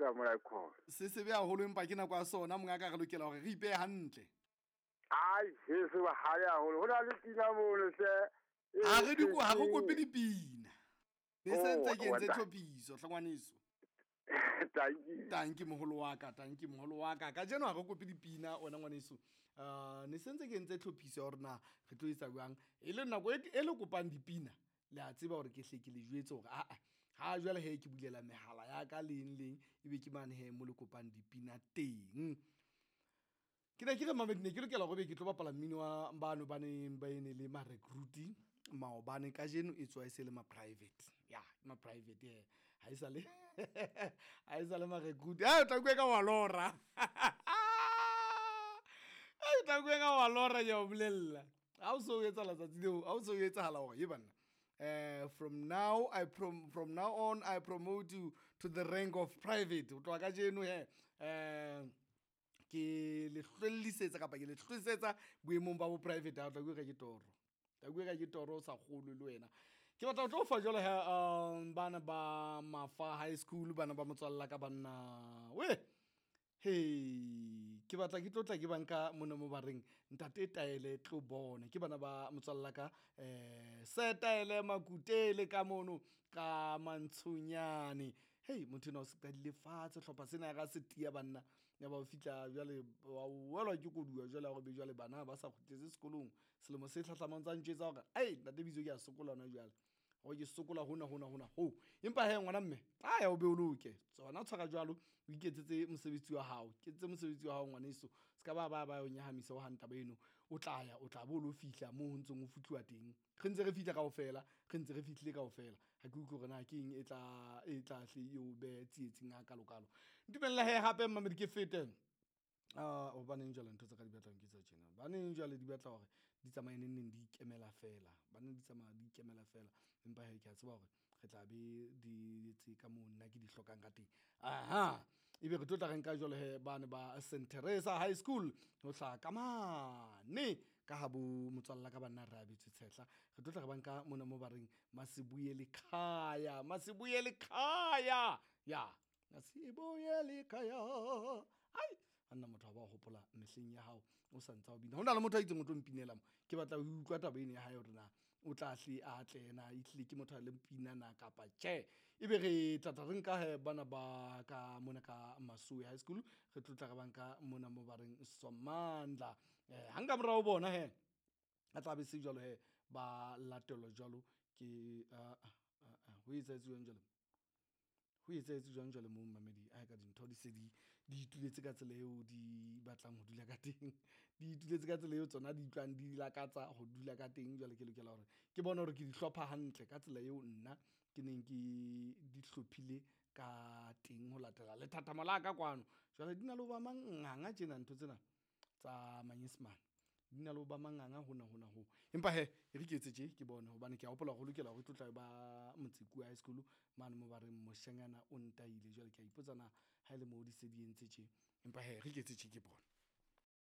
ka mona khona. Se sebe haholo empa ke nako ya sona mongaka, re lokela hore re ipehe hantle. Ai, se se bohale haholo. Ho na le pina mono hle. Ha re di ha re kope dipina. Ne se ntse ke entse tlhophiso hle ngwaneso. Tanki. Tanki moholo wa ka, tanki moholo wa ka. Kajeno ha re kope dipina wena ngwaneso. Ne se ntse ke entse tlhophiso ya hore na re tlo etsa jwang. E le nako e le kopang dipina, le a tseba hore ke hle ke le jwetse hore aa ha jwale he ke bulela mehala ya ka leng leng ebe ke mane he mo le kopang dipina teng. Ke ne ke re mamedi, ne ke lokela hore be ke tlo bapala mmino wa bano ba neng ba ene le ma-recruit maobane, kajeno e tswa e se le ma-private. Ya, ma-private he. Ha e sale ha e sale ma-recruit. O tla utlwa ka wa lora. O tla utlwa ka wa lora, ke a o bolella. Ha o so etsahala tsatsi leo, ha o so etsahala hore ye banna. From now I from now on I promote you to the rank of private. Ho tloha kajeno he, ke le hlwellisetsa kapa ke le hlwesetsa boemong ba bo private. Ha o tla utlwa ka ke toro. Tla utlwa ka ke toro o sa kgolwe le wena. Ke batla ho tlo fa jwalo he, bana ba Mafa High School, bana ba motswalla ka banna. We. Hey, ke batla ke tlo tla ke banka mona mo ba reng ntate Taele tlo bona. Ke bana ba motswalla ka, se Taele Makutele ka mono ka Mantshonyane. Hey, motho enwa o se qadile fatshe hlopha sena ya ka se tiya banna. Ya ba o fihla jwale wa welwa ke koduwa jwale ya hore be jwale bana ba sa kgutletse sekolong. Selemo se hlahlamang tsa ntjwetsa hore ai ntate Bitso ke a sokola hona jwale. Hore ke sokola hona hona hona ho. Empa he ngwana mme, a ya o be o loke. Tsona tshwara jwalo, o iketsetse mosebetsi wa hao. Ketsetse mosebetsi wa hao ngwaneso. Se ka ba ba ba o nyahamisa ho hang taba eno. O tla ya, o tla bo lo fihla moo ho ntseng ho fihluwa teng. Re ntse re fihla kaofela, re ntse re fihlile kaofela. Ha ke utlwe hore na ke eng e tla hle eo behe tsietsing ha kalokalo. Ntumella he hape mamedi ke fete. Hobaneng jwale ntho tsa ka di batlang ke tsa tjena. Baneng jwale di batla hore di tsamaye neng neng di ikemela fela. Baneng di tsamaya di ikemela fela. Empa he ke a tseba hore re tla be di etse ka moo nna ke di hlokang ka teng. Aha, ebe re tlo tla re nka jwale he bane ba Saint Teresa High School ho hlaha ka mane ka ha bo motswalla ka banna re abetswe tshehla. Re tlo tla re banka mona mo ba reng Masibuye lekhaya, Masibuye lekhaya. Ya, Masibuye lekhaya. Ai, anna motho ha ba hopola mehleng ya hao o sa ntsa o bina. Ho na le motho a itseng o tlo mpinela mo. Ke batla ho utlwa taba ena ya hae hore na o tla hle a tle na ehlile ke motho a leng pina na kapa tjhe. Ebe re tla tla re nka he bana ba ka mona ka Masowe High School, re tlo tla re banka mona mo ba reng Somandla. Ha nka morao bona he, a tla be se jwalo he ba latelwa jwalo ke ho etsahetse jwang jwale? Ho etsahetse jwang jwale moo mamedi? A ka dintho di se di ituletse ka tsela eo di batlang ho dula ka teng. Di ituletse ka tsela eo tsona di utlwang di lakatsa ho dula ka teng. Jwale ke lokela hore ke bone hore ke di hlopha hantle ka tsela eo nna ke neng ke di hlophile ka teng ho latela lethathamo la ka kwano. Jwale di na le ho ba manganga tjena ntho tsena tsa manyesemane. Di na le ho ba manganga hona hona ho. Empa he, e re ke etse tje ke bone hobane ke a hopola hore ho lokela hore tlo tla ba Motsekua High School mane mo ba reng moshanyana o ntaile. Jwale ke a ipotsa na ha ele moo di se di entse tje. Empa he, re ke etse tje ke bone.